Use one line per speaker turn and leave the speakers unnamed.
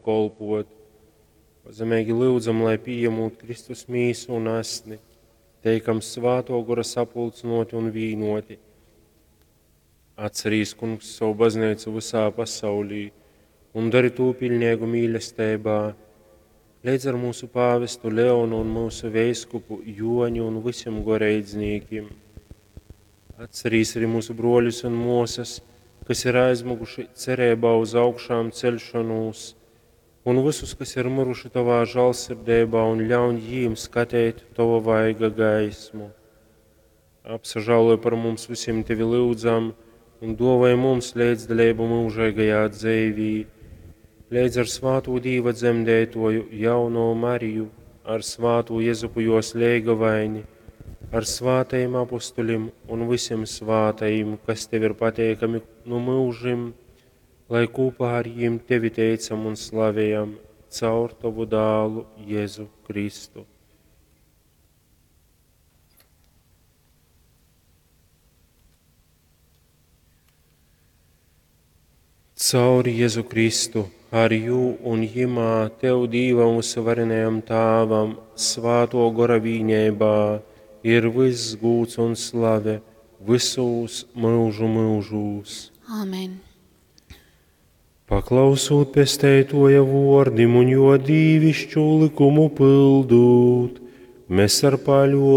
kolpot. Pazemeigi lyudzam, lai pījemūt Kristus mīsu un asni, teikam svātō gora sapulcynōti un vīnōti. Atcerīs, Kungs, savu bazneicu vysā pasaulī un dari tū piļneigu mīlesteibā, leidz ar mūsu pāvestu Leonu un mūsu veiskupu Joni un visiem goreidznīkim. Atcerīs arī mūsu broļus un mosas, kas ir aizmuguši cerībā uz augšām celšanos, un visus, kas ir miruši tavā žālsirdībā, un ļauj jīm skatīt tava vaiga gaismu. Apsažāloj par mums visiem tevi lūdzam, un dāvāj mums līdzdalību mūžīgajā dzīvī, līdz ar svāto Dīva dzemdētoju jauno Mariju, ar svāto Jezupu jos leigavaini, ar svātajiem apustuļiem un visiem svātajiem, kas tev ir pateikami no mūžim, lai kopā ar jiem tevi teicam un slavējam caur tavu dālu Jēzu Kristu. Caur Jēzu Kristu, ar jū un jimā tev Dīvam uzvarenajam Tāvam, svāto gora vīņēbā, ir viss gūts un slave visūs mūžu mūžūs.
Āmen.
Paklausūt pesteitoja vordim un jo dīvišķu likumu pildūt, mēs ar paļo